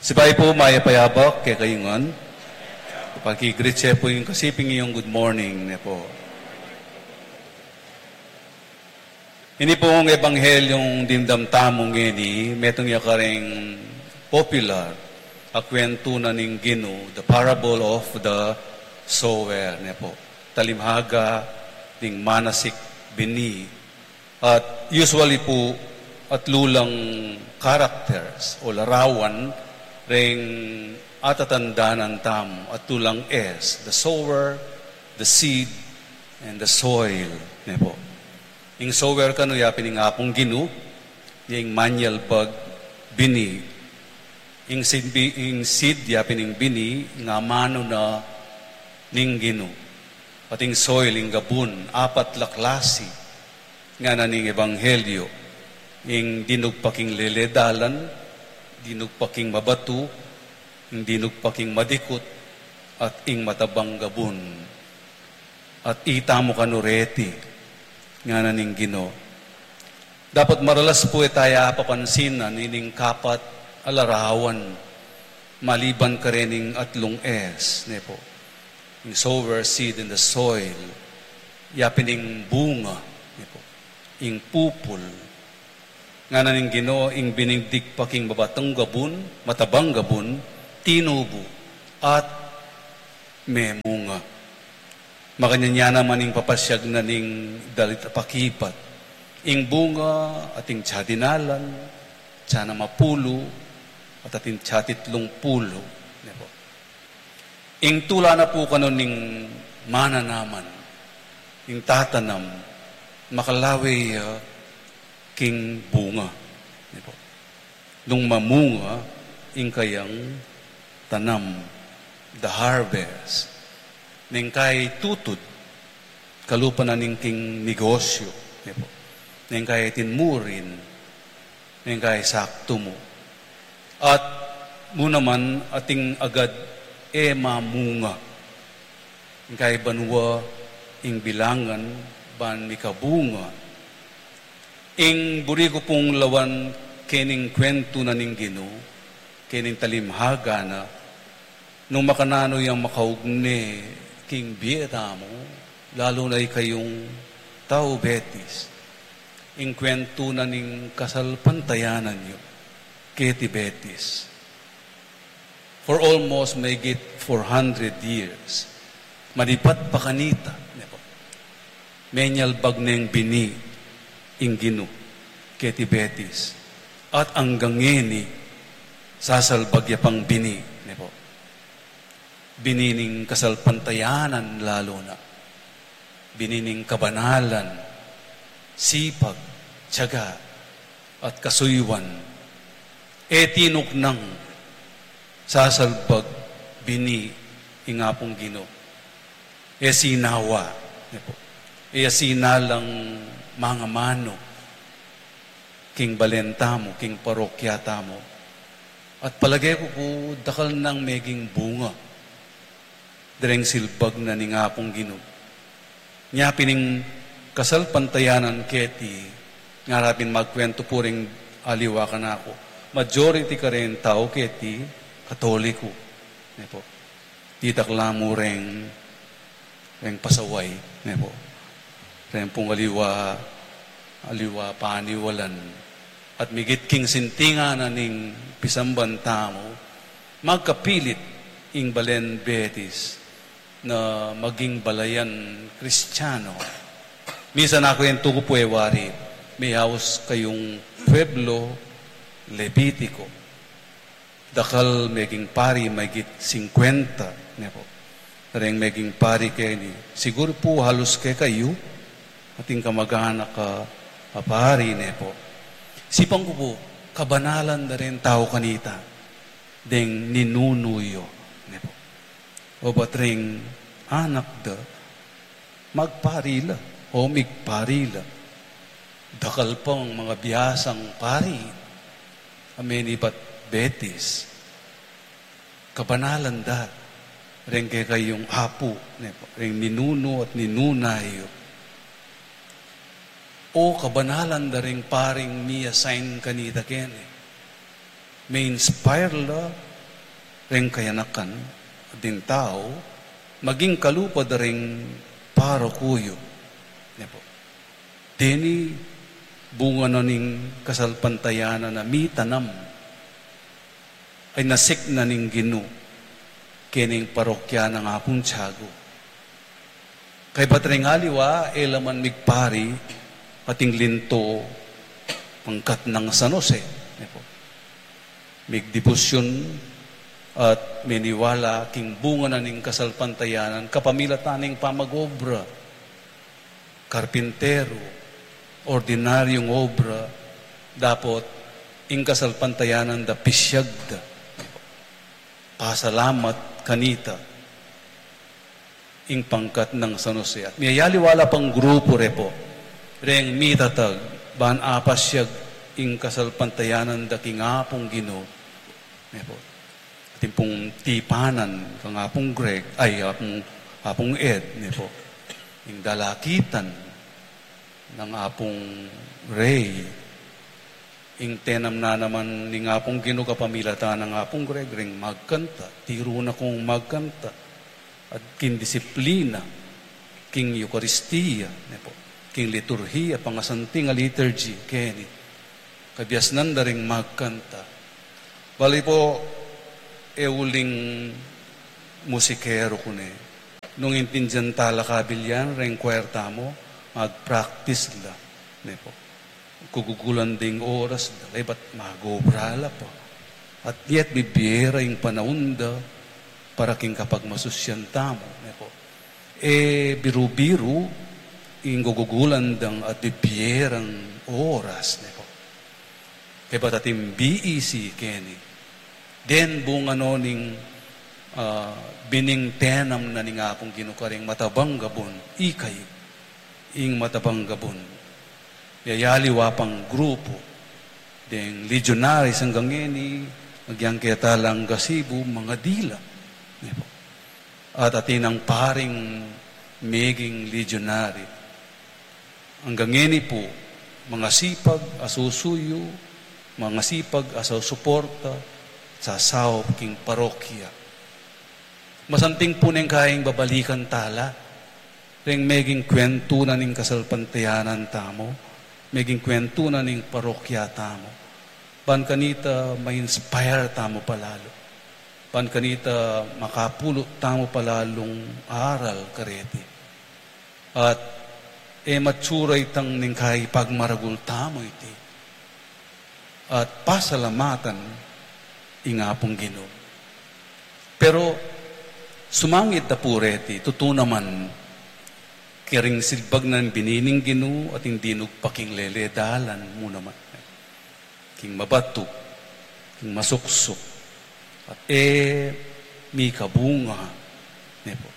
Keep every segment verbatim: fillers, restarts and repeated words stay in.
Sipay pu, mayap a abak kekayu ngan. Paki-greet ye pu ing kasiping yung good morning ne pu. Ini pung ebanghelyung dimdam tamu ngeni, metung ya karing popular a kwentu na ning Ginu, the parable of the sower ne pu. Talimhaga ning manasik bini. At usually pu, atlu lang characters o larawan reng atatandanan tamu, atlu lang S, the sower, the seed, and the soil, ne pu. Ing sower kanu ya pin ing Apung Ginu, ya ing manyalbag bini. Ing seed, bi-, ing seed ya pin ing bini, ing amanu na ning Ginu. At ing soil, ing gabun, apat la klasi ngana ning ebanghelyo, ing dinugpa king lele dalan, dinugpa king mabatu, ing dinugpa king madikut, at ing matabang gabun. At itamu kanu reti, ngana ning Ginu. Dapat maralas pu e taya papansinan ining kapat a larawan, maliban karening atlung S, ne pu. Ing sower, seed, and the soil. Ya pin ing bunga, ne pu. Ing pupul. Ngana ning Ginu, ing bining digpa king mabatang gabun, matabang gabun, tinubu, at memunga. Makanyan ya naman ing papasyag na ning dalit a pakibat. Ing bunga, atin tsa dinalan, tsa na mapulu, at atin tsa titlung pulu. Ne pu. Ing tula na pu kanu ning mananaman, ing tatanam, makalawe ya king bunga. Ne pu. Nung mamunga ing kayang tanam, the harvest, neng kay tutud, kalupa na ning king negosyo, ne pu. Neng kay tinmurin, neng kay saktu mu. At mu naman atin agad e mamunga. Ing kay banua, ing bilangan, ban mikabunga. Ing buri ku pung lawan kening kwentu na ning Ginu, kening talimhaga na, nung makananu yang makaugne king bie tamu, lalu na ikayung tau Betis. Ing kwentu na ning kasalpantayanan yu keti Betis. For almost mahigit four hundred years, manibat pa kanita, ne pu. Menyalbag neng bini ing Ginu keti Betis. At anggang ngeni, sasalbag ya pang bini, ne pu. Bini ning kasalpantayanan lalu na. Bini ning kabanalan, sipag, tiyaga, at kasuyuan. E tinuknang sasalbag bini ing Apung Ginu. E sinawa, ne pu. E sinalang mangamanu king balen tamu, king parokya tamu. At palage ku pu dakal nang meging bunga dareng silbag na ning Apung Ginu. Nya pin ing kasalpantayanan keti, ngara pin magkwentu pu reng aliwa kanaku. Majority kareng tau keti Katoliko, ne pu. Ditak la mu reng, reng pasaway, ne pu. Reng pung aliwa, aliwa paniwalan. At migit king sintingan na ning pisamban tamu, magkapilit ing balen Betis na maging balayan Kristiyano. Minsan aku yang tuku pu e wari, may haus kayung pueblo Levitico. Dakal meging pari, mahigit singkwenta, ne pu. Reng meging pari keni. Siguru pu halus kekayu, atin kamag-anak a, a pari, ne pu. Sipan ku pu, kabanalan da reng tau kanita, deng ninunu yu, ne pu. O bat reng anak da, magpari la, o migpari la. Dakal pang mga biyasang pari a menibat Betis. Kabanalan da reng kekayung apu, ne pu, reng ninunu at ninuna yu. O kabanalan da reng paring mi-assign kanita keni. Me-inspire la, reng kayanakan ding tau, maging kalupa da ring paroku yu. Ne pu. Deni bunga na ning kasalpantayanan a mitanam a inasikna ning Ginu kening parokya nang Apung Tiago. Kaybat ring aliwa, e la man migpari ating linto pangkat nang San Jose, ne pu. Migdebosyon at miniwala king bunga na ning kasalpantayanan kapamilatan ning pamag-obra, karpinteru, ordinaryung obra, dapot ing kasalpantayanan da pisyag da. Pasalamat kanita ing pangkat nang San Jose. At miyayaliwa la pang grupu re pu, reng mitatag ban apasyag ing kasalpantayanan da king Apung Ginu, ne pu. Atin pung tipanan kang Apung Greg, ay, Apung, Apung Ed, ne pu. Ing dalakitan nang Apung Rey, ing tenam na naman ning Apung Ginu kapamilatan nang Apung Greg, ring magkanta, tiru na kung magkanta, at king disiplina, king Eukaristia, ne pu, king liturhia, pangasanting a liturgy, keni, kabiasnan da ring magkanta. Bali pu, e uling musikeru ku ne. Nung intindian tala kabilyan, reng choir tamu, mag-practice la, ne pu. Gugugulan ding oras da, kaybat mag-obra la pa. At yet, bibie ra ing panaun da para king kapagmasusyan tamu, ne pu. E biru-biru ing gugugulan dang at bibie rang oras, ne pu. Kaybat atin B E C keni. Den bunga no ning, ah, bining tenam na ning Apung Ginu karing matabang gabun, ikayu, ing matabang gabun. Yayaliwa pang grupu, deng legionaries anggang ngeni, agyang keta lang gasibu, mangadila. Ne pu. At atin nang paring meging legionary. Anggang ngeni pu, mangasipag a susuyu, mangasipag a susuporta, sasaup king parokya. Masanting pu neng kayang babalikan tala, reng meging kwentu na ning kasalpantayanan tamu, meging kwentu na ning parokya tamu. Ban kanita ma-inspire tamu palalu. Ban kanita makapulot tamu palalung aral kareti. At e matsura itang neng kayang pagmaragul tamu iti. At pasalamatan ing Apung Ginu. Pero sumangid da pu reti, tutu naman, karing silbag nang bini ning Ginu at ing dinugpa king lele dalan mu naman. King mabatu, king masuksuk, at e mikabunga, ne pu.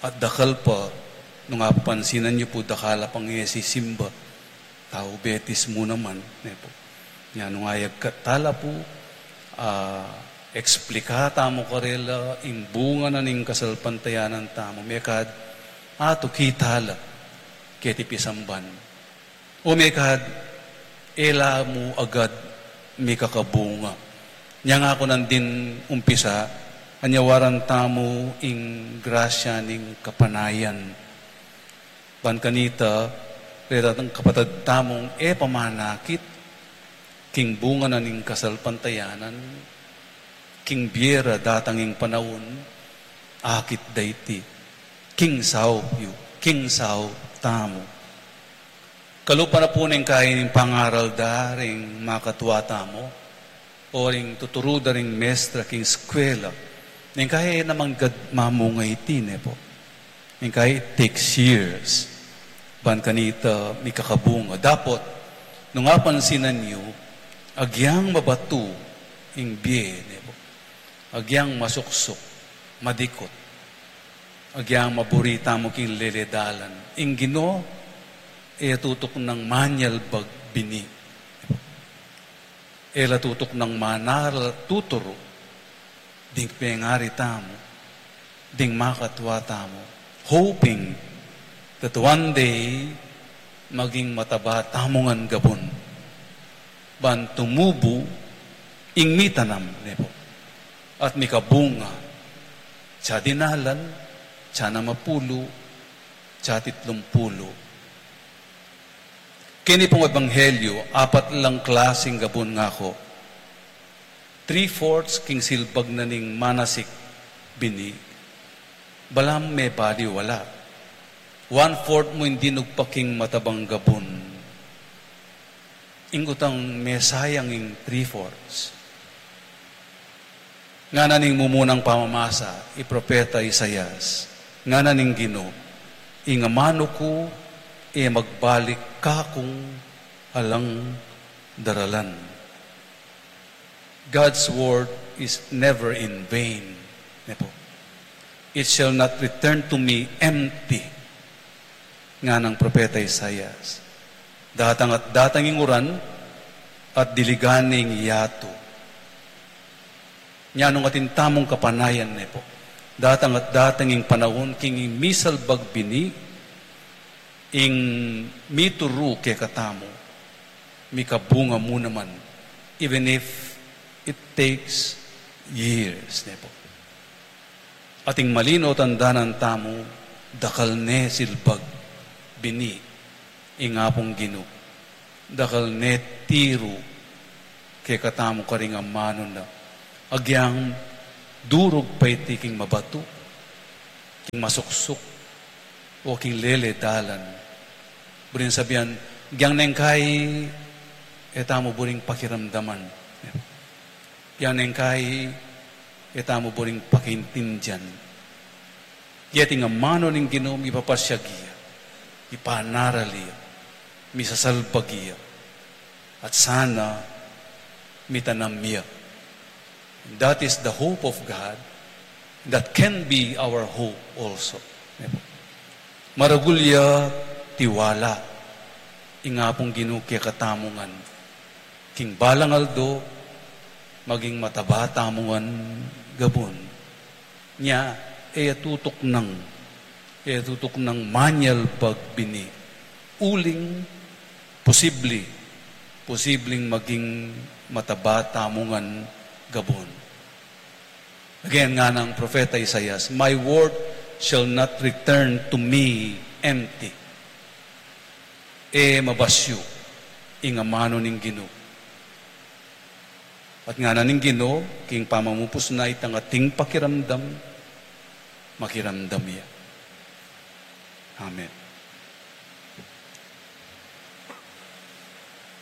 At dakal pa, nung apapansinan yu pu, dakal a pang e sisimba, tau Betis mu naman, ne pu. Nya nung ayagkat tala pu, ah, eksplika tamu karela ing bunga na ning kasalpantayanan tamu, mekad atuki tala keti pisamban. O mekad, e la mu agad mikakabunga. Nya nga ku nandin umpisa, anyawaran tamu ing grasya ning kapanayan. Ban kanita, reta tang kapatad tamung e pamanakit, king bunga na ning kasalpantayanan, king bie ra datang ing panaun, akit da iti, king saup yu, king saup tamu. Kalupa na pu neng kayang pangaral da ring makatua tamu, o ring tuturu da ring mestra king eskwela. Neng kayang e naman gad mamunga iti, ne pu. Neng kayang it takes years ban kanita mikakabunga. Dapot, nung apansinan yu, agyang mabatu ing bie, ne pu. Agyang masuksuk, madikut. Agyang maburi tamu king lele dalan. Ing Ginu, e tutuknang manyalbag bini. E la tutuknang manaral tuturu ding pengari tamu, ding makatua tamu, hoping that one day maging mataba tamu ngan gabun. Ban tumubu ing mitanam, ne pu. At mikabunga, tsa dinalan, tsa namapulu, tsa titlumpulu. Keni pung ebanghelyu, apat lang klasing gabun ngaku. Three-fourths king silbag na ning manasik bini. Balam mebaliwala. One-fourth mu ing dinug pa king matabang gabun. Ingkutang mesayang ing three-fourths. Ngana ning mumunang pamamasa, i Propeta Isaias. Ngana ning Ginu, ing amanu ku e magbalik kakung alang daralan. God's word is never in vain. Ne pu? It shall not return to me empty. Nganang Propeta Isaias. Datang at datang ing uran at diligan ne ing yatu. Nyanu nung atin tamung kapanayan ne pu. Datang at datang ing panaun king ing misalbag bini, ing mituru kekatamu, mikabunga mu naman, even if it takes years, ne pu. Ating malino tandanan tamu, dakal ne silbag bini ing Apung Ginu, dakal ne tiru kekatamu karing amanu na. Agyang durug pa iti king mabatu, king masuksuk, o king lele dalan. Buring sabian, agyang neng kai, e tamu buring pakiramdaman. Agyang neng kai, e tamu buring pakiintindian. Keti ing amanu ning Ginu, mipapasiag ya, ipanaral ya, misasalbag ya, at sana mitanam ya. That is the hope of God. That can be our hope also. Maragul ya tiwala ing Apung Ginu kekatamu ngan. King balang aldo, maging mataba tamu ngan gabun. Nya, e ya tutuknang, e ya tutuknang manyalbag bini. Uling, posible, posibleng maging mataba tamu ngan gabun. Again, nganang Propeta Isaias, "My word shall not return to me empty." E mabasyu ing amanu ning Ginu. At ngana ning Ginu, king pamamupus na itang ating pakiramdam, makiramdam ya. Amen.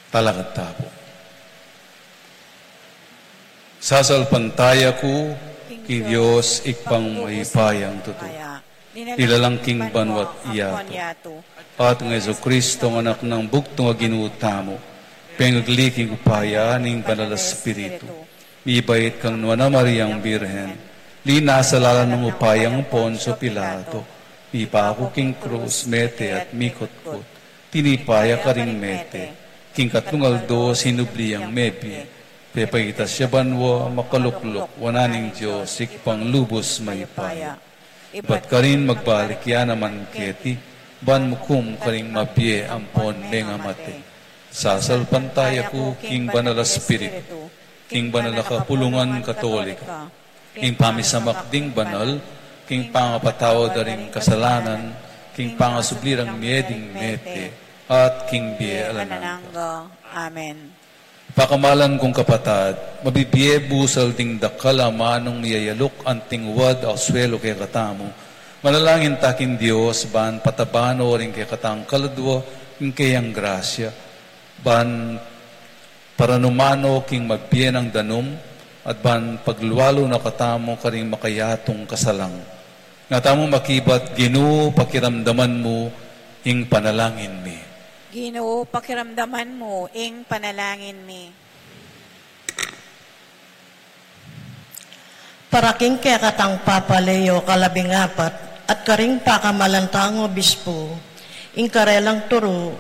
Talakad ta pu. Sasalpantaya ku king Dios, Ibpang mayupayang tutu, linalang king banua't yatu, at nang Jesucristo, Anak nang bugtung a Ginu tamu, pengagli king upaya ning Banal a Espiritu, mibait kang Nuan a Mariang Birhen, linasa lalam ning upayang Poncio Pilato, mipaku king krus, mete at mikutkut, tinipa ya karing mete, king katlung aldo sinubli yang mebie, pepaitas ya banua, makalukluk wanan ning Dios, Ibpang lubus mayupaya. Ibat karin magbalik ya naman keti, ban mukum karing mabie ampon mengamate. Sasalpantaya ku king Banal a Espiritu, king banal a kapulungan Katolika, king pamisamak ding banal, king pangapatawad da ring kasalanan, king pangasubli rang mie ding mete, at king bie alang angga. Amen. Pakamalan kung kapatad, mabibie busal ding dakal a amanung miyayaluk anting wad a suelu kekatamu. Manalangin ta king Dios, ban pataban no ring kekatang kaladua ing keyang grasya, ban paranuman no king mabie nang danum, at ban paglualu na katamu karing makayatung kasalang. Nga tamu makibat, Ginu, pakiramdaman mu ing panalangin mi. Ginu, pakiramdaman mu ing panalangin mi. Para king kekatang Papa Leo kalabing apat, at karing pakamalan tang obispo, ing karelang turu,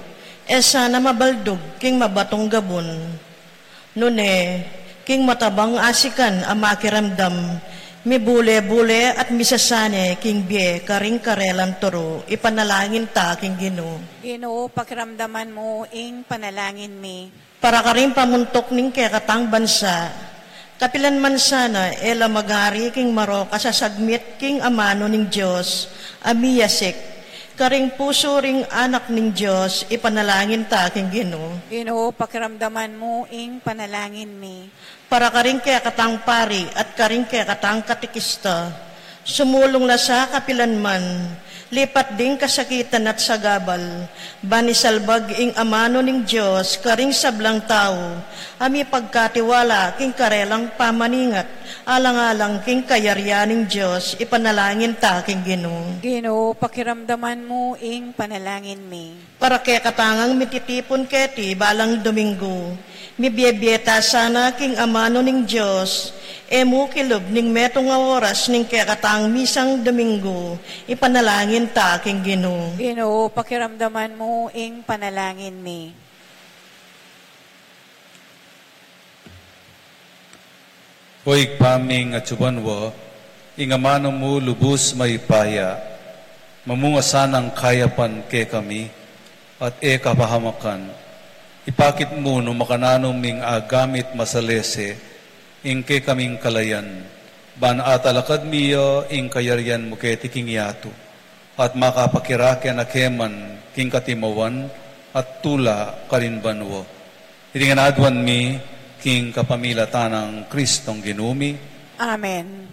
e sana mabaldug king mabatung gabun. Nune, king matabang asikan a makiramdam, mibule-bule at misasane king bie karing karelang turu, ipanalangin ta king Ginu. Ginu, pakiramdaman mu ing panalangin mi. Para karing pamuntuk ning kekatang bansa, Kapilan man sana e la magari king marok a sasagmit king amanu ning Dios a miyasik, karing pusu ring Anak ning Dios, ipanalangin ta king Ginu. Ginu, pakiramdaman mu ing panalangin mi. Para karing kekatang pari at karing kekatang katikista, sumulung la sa kapilan man, lipat ding kasakitan at sagabal, ban isalbag ing amanu ning Dios karing sablang tau a mipagkatiwala king karelang pamaningat, alang-alang king kayarian ning Dios, ipanalangin ta king Ginu. Ginu, pakiramdaman mu ing panalangin mi. Para kekatang ngan mititipun keti balang Domingo, mibie-bie ta sana king amanu ning Dios, e mu kilub ning metung a oras ning kekatang misang Domingo, ipanalangin ta king Ginu. Ginu, pakiramdaman mu ing panalangin mi. O Ibpa ming atsu banua, ing amanu mu lubus mayupaya, mamunga sanang kayapan kekami, at e kapahamakan. Ipakit mu nung makananu ming agamit masalese ing kekaming kalayan, ban atalakad mi ya ing kayarian mu keti king yatu, at makapakirake na keman king katimawan at tula karin banua. Iti ngan aduan mi king kapamilatan nang Kristong Ginu mi. Amen.